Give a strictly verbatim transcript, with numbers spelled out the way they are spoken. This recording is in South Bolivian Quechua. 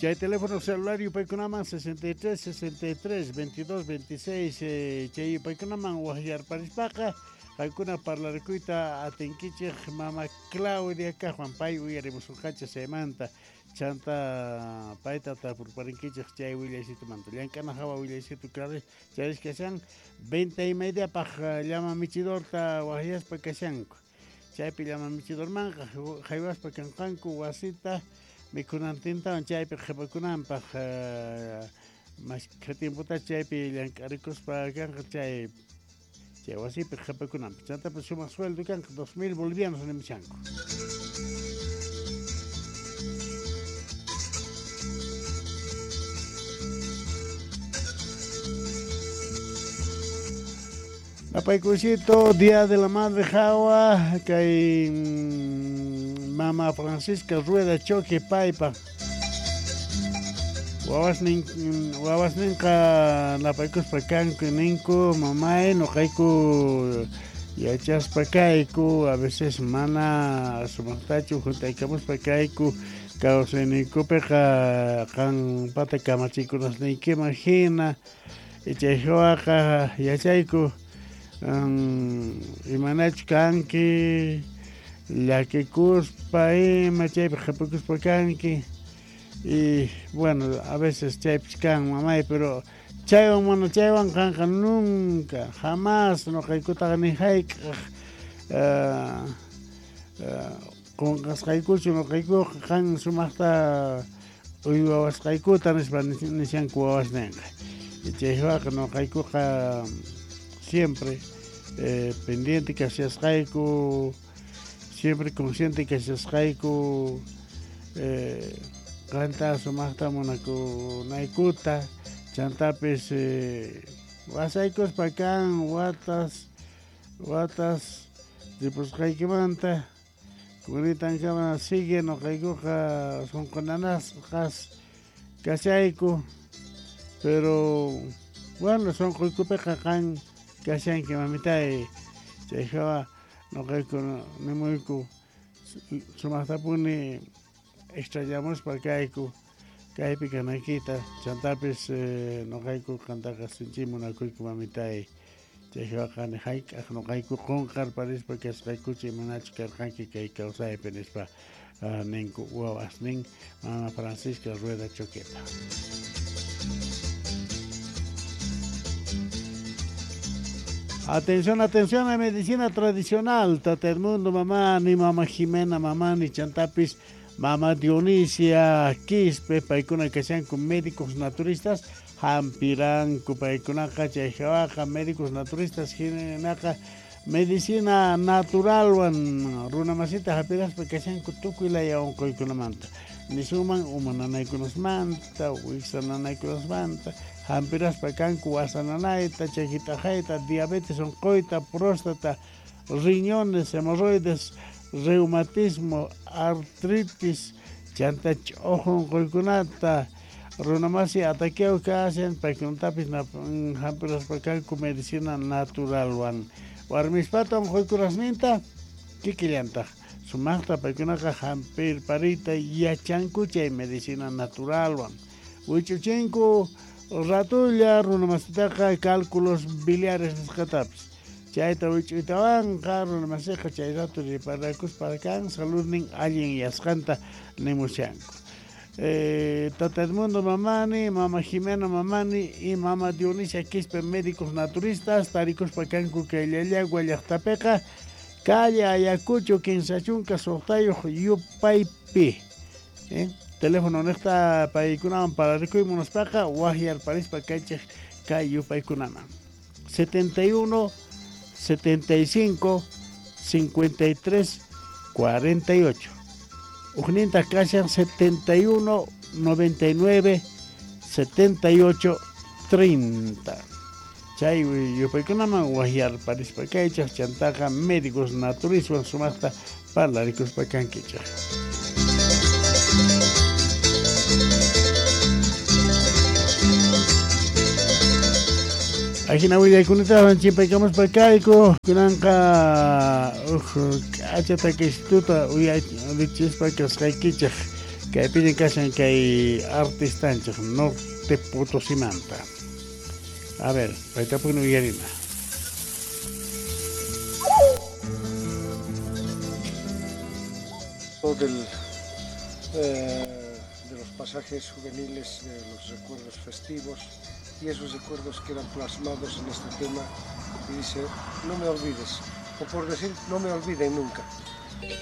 Chay teléfono celular yupaykunaman sesenta y tres, sesenta y tres, veintidós, veintiséis, eh, chay yupaykunaman waqyarparispaqa qaykuna parlarikuyta atinkichej mama Claudia kajwan pay uyarimusunqachej chaymanta chanta payta tapurparinkichej chay willaysitumanta llank'ana hawa willaysitu chayrish kashan venta y media paj llama michidorta waqyaspa kashanku chaypi llama michidormanqa haywaspa kanqanku wasita mikhunantintawan chaypi qhipakunanpaq mashkha tiempota chaypi llank'arikuspa kanqa chay chay wasipi qhipakunanpaq chantapas sumaq sueldo kanqa dos mil bolivianos nimushanku. Napaykusito, Día de la Madre hawa, kay Mama Francisca Rueda Choque paypa. Wawasnin wawasninqa napaykuspa kanku ninku mamay noqayku yachaspa kayku a veces mana sumaqtachu juntaykamuspa kayku kawsayninkupiqa qanpata kamachikunasniykiman hina chay hawaqa yachayku Um, imanachu kanki llakikuspa ima chaypi qhipakuspa kanki y bueno a veces chaypis kan mamay pero chaywan mana chaywan qanqa nunca jamás noqaykutaqa ni hayk'aq uh, uh, qunqasqaykuchu noqaykuqa qan sumaqta uywawasqaykuta nispa nishanku wawasninqa chaywaqa noqaykuqa siempre eh, pendiente kashasqayku, siempre consciente kashasqayku, eh, qanta sumaqta munakunaykuta, chantapis eh, wasaykuspa kan watas, watas ripusqaykimanta, kunitankama sigue noqaykuqa sunqunanasqas kashayku, pero bueno sunquykupiqa qan kashanki mamitay chay hawa noqayku nimuyku sumaqtapuni extrañamuspa kayku kaypi kanaykita chantapis eh, noqayku qantaqa sinchi munakuyku mamitay chay hawaqa ni hayk'aq noqayku qunqarparispa kasqaykuchu imanachu karqanki kay kawsaypi nispa uh, ninku wawasnin mama Francisca Rueda Choqueta. Atención, atención a medicina tradicional, Tata Edmundo, mamá, ni mamá Jimena, mamá, ni Chantapis, mamá Dionisia, Quispe, paykuna kashanku médicos naturistas, hampiranku, paykunaqa chay hawaqa médicos naturistas, hinaqa medicina naturalwan, runamasita hampiraspa kashanku tukuy laya unquykunamanta, nisuman uma nanaykunasmanta, wiksa nanaykunasmanta, hampiraspa kanku wasa nanayta, chakitaqayta, diabetes unquyta, próstata, riñones, hemorroides, reumatismo, artritis, chanta ch'uju unquykunata, runamasi ataqueo kashan, paykunatapis hampiraspa kanku medicina naturalwan. Warmispata unquykunasninta kikillantaq sumaqta paykunaqa hampirpariyta yachanku chay medicina naturalwan. Wich'uchinku ratulla runamasitaqa cálculos biliares nisqatapis chayta wich'uytawanqa runamasiqa chay rato riparakuspa kan saludnin allin yasqanta nimushanku. Eh, Tata Edmundo mamani, mama Jimena mamani y mama Dionisia Quispe médicos naturistas tarikuspa kanku kay Llallagua llaqtapiqa calle Ayacucho kinsa chunka suqtayuq yupaypi. Eh? Teléfono niqta paykunawan pararikuy munaspaqa waqyarparispa kaychej kay yupaykunaman setenta y uno, setenta y cinco, cincuenta y tres, cuarenta y ocho. Ujninta kashan setenta y uno, noventa y nueve, setenta y ocho, treinta. Chay yupaykunaman waqyarparispa kaychej chantaqa médicos naturiswan sumaqta parlarikuspa kankichej. Ajina willaykunata chimpaykamuspa kayku kunanqa uj k'acha takisituta uyarichispa kasqaykichej Kaypiña kashan kay artistanchej Norte Potosimanta. A ver, paytapuni uyarina. Del, eh, de los pasajes juveniles, de los recuerdos festivos, y esos recuerdos quedan plasmados en este tema, y dice, no me olvides, o por decir, no me olviden nunca.